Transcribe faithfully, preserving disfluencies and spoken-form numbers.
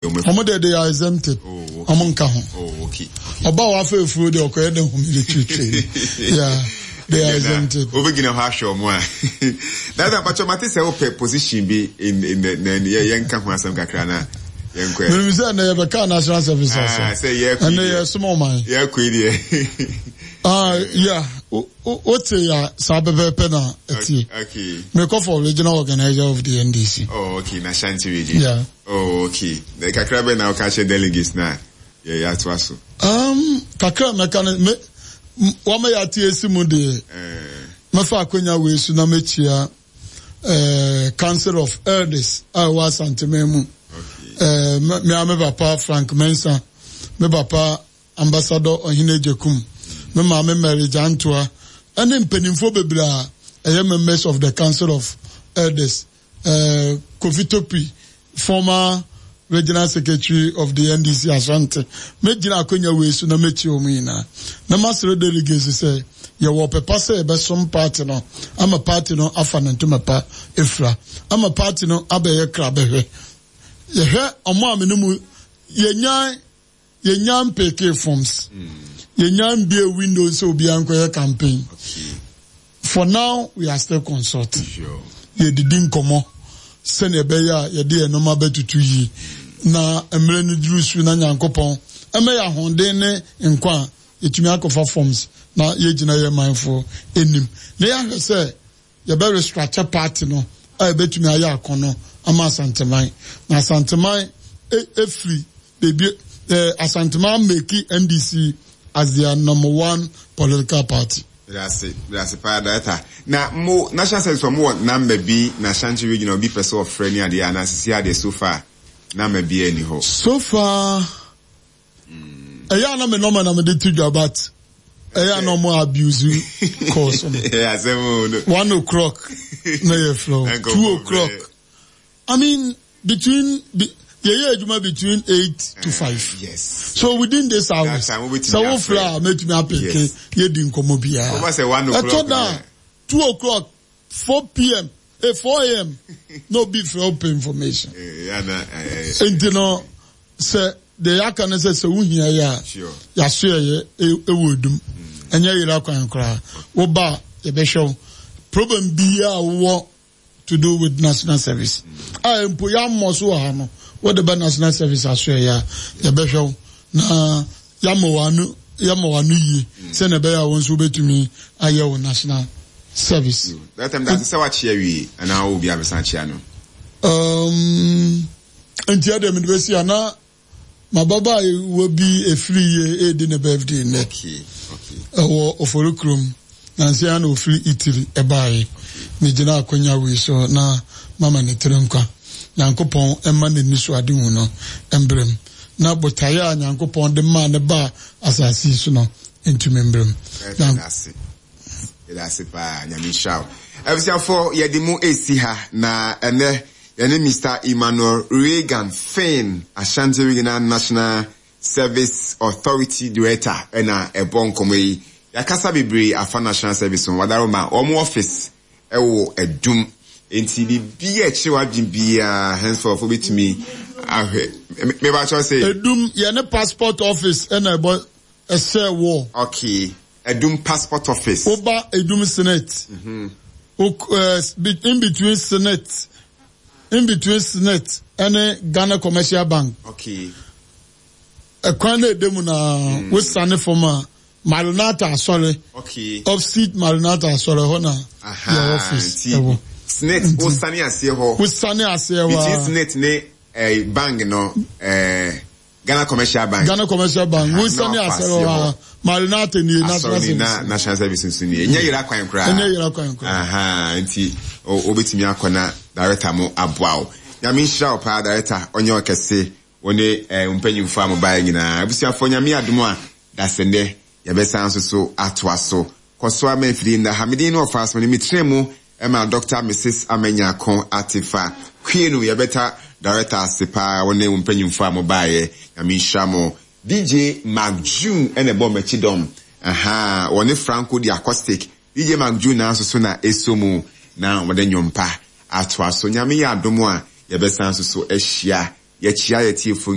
Ɔmo de, they are exempted. Oh, okay. Ɔmo nka ho. Oh, okay. Ɔba a wafa efuro deɛ, ɔkɔyɛ ne ho military training. Yeah, they are exempted. Wobɛgyina hɔ ahwɛ ɔmo a dada mpatwɛ mate sɛ wopɛ position bi in in the na yɛ yɛnka ho asɛm kakra na yɛnkɔ. Menim sɛ ɛnɛ yɛbɛka national service Ah, asɛm. Sɛ yɛkɔ yi ɛnɛ deɛ. Yɛsom ɔman. Yɛkɔ yi deɛ. Ah, yeah, wote ya saa pɛpɛɛpɛ na ɛtie. Okay. Mekɔ for regional organizer of the N D C. Oh, okay, na Ashanti Region. Yeah. Oh, okay. Na kakra bɛ na woka kyerɛ delegates na yɛ yɛatoa so? Um, kakra mɛka no me wama yɛate esi mu deɛ, Eh, mɛfa akonnwa wei so na mɛkyia eh, Council of Elders a ɛwɔ Asanteman mu. okay. Eh, me me a me papa Frank Mensah, me papa Ambassador Ɔhene Gyekum, me maame Mary Gyantoa, ɛne mpanimfoɔ bebree a ɛyɛ members of the Council of Elders, eh, Kofi Topi, former regional secretary of the N D C Ashanti. Mɛgyina akonnwa wei so na mɛkyia wɔn nyinaa na masrɛ delegates sɛ yɛwɔ ɔpɛpa sɛ yɛbɛsom party no ama party no afa ne ntoma pa efura ama party no abɛyɛ kra bɛhwɛ. Yɛhwɛ ɔmo a me ne mu yɛnya yɛnya mpick forms, yɛnya mbie windows sɛ obiara nkɔyɛ campaign. Okay. For now, we are still consulting. Sure. Yɛdidi nkɔmmɔ sɛnea ɛbɛyɛ a yɛde yɛn nneɛma bɛtutu yie na mmerɛ no duru so na Nyankopɔn ɛmɛ yɛ ahoɔden ne nkwa a yɛtumi akɔfa forms na yɛgyina yɛ manfoɔ anim na yɛahwɛ sɛ yɛbɛ restructure party no a yɛbɛtumi ayɛ akɔnɔ ama Asanteman na Asanteman efiri beebi ɛɛ Asanteman make N D C as their number one political party. Medase, medase paa, director. Na mo national service, mo wɔ number bi na Ashanti Region obi pɛ sɛ ɔfrɛ ne adeɛ anaa sisi adeɛ, so far number bi ani hɔ? So far, ɛyɛ ana me nɔma na mede to dwa, but ɛyɛ ana ɔmo abuse calls no. Ɛyɛ asɛm o no. One o'clock na yɛ frɛ o, two o'clock. I mean, between be, yɛyɛ adwuma between eight to five. Yes. So within this hours, That time, wobɛtumi sɛ wofrɛ a, mɛtumi apick. Yes. Yɛdi nkɔmmɔ biara. Wɔba sɛ one o'clock. Ɛtɔ da two o'clock, four p m, eh, four a m na obi frɛ wo pɛ information. Eh, ana eh, nti no, sɛ deɛ yɛaka no sɛ sɛ wohia yɛ a, Sure. yɛaso yɛyɛ ɛwɔ Edum, ɛnyɛ yera kwan koraa. Woba a, yɛbɛhwɛ wo problem biara a wowɔ to do with national service a mpo yɛammɔ so wɔ ha no, wode bɛ national service aso yɛyɛ a, yɛbɛhwɛ wo na yɛama w'ano yɛama w'ano yie sɛnea ɛbɛyɛ a wo nso wobɛtumi ayɛ wo national service. That time dase sɛ wakyea wie anaa wo bi abɛsan akyea no? um, nti ɛdeɛ mede bɛsi a na mababaawa bi efiri yie edi ne birthday nnɛ. Okay okay. Ɛwɔ Ofori kurom nansi na ofiri Italy ɛbaayɛ. Megyina akonnwa wei so na mama ne tiri nkwa. Nyankopɔn ɛma n'ani so ade hu no mbrɛm na botaeɛ a Nyankopɔn de maa ne ba asase yi so no ntumi mbrɛm. Yɛda ase, yɛda ase paa. Nyame nhyira wo. Abusuafoɔ, yɛde mu esi ha na ɛnɛ yɛne Mister Emmanuel Reagan Finn, Ashanti Regional National Service Authority Director, ɛna ɛbɔ nkɔmɔ yi. Yɛakasa bebree afa national service ho. Wadaroma wɔn office ɛwɔ Adum, nti biribi a ɛkyerɛ w'adwene biara henceforth wobɛtumi ahwɛ mebakyɛw sɛ Edum, yɛne passport office ɛna ɛbɔ ɛsɛ wɔ. Okay, Adum passport office. Woba Edum SSNIT, in between SSNIT in between SSNIT ɛne Ghana Commercial Bank. Okay. Ɛkwan na ɛda mu na wosane fam a, Maranatha Asɔre. Okay. Opposite Maranatha Asɔre hɔ na yɛ office ɛwɔ. SSNIT, wosane aseɛ hɔ. Wosane aseɛ hɔ. Between SSNIT ne eh, bank no, eh, Ghana Commercial Bank. Ghana Commercial Bank, wosane aseɛ hɔ a, Maranatha nie, national service. Na national service nso nie. Ɛnyɛ yɛrɛ akwan koraa. Ɛnyɛ yɛrɛ kwan koraa. Aha, nti wobɛtumi akɔ na director mo aboa wo. Nyame nhyira wo paa, director, ɔnyɛ ɔkɛse. Wo ne eh, mpanyimfoɔ a mobaeɛ nyinaa. Abusuafoɔ, Nyame adom a, dasɛnnɛ yɛbɛsan nso so atoa so. Kɔ so ama mfidie nna ha. Medin no ɔfa so ne metena mu ma Doctor Missus Amanyako Atefa Kwienu. Yɛbɛta director ase paa, wo ne wo mpanyimfoɔ a mobaeɛ. Nyame nhyira mo. D J Mark June ɛna ɛbɔ m'akyi dɔm. Aha, wɔne Franco di acoustic. D J Mark June na nso so na ɛso mu na wɔde nnwompa atoa so. Nyame yɛ adom a, yɛbɛsan nso so ahyia. Yɛkyia yɛtiefoɔ.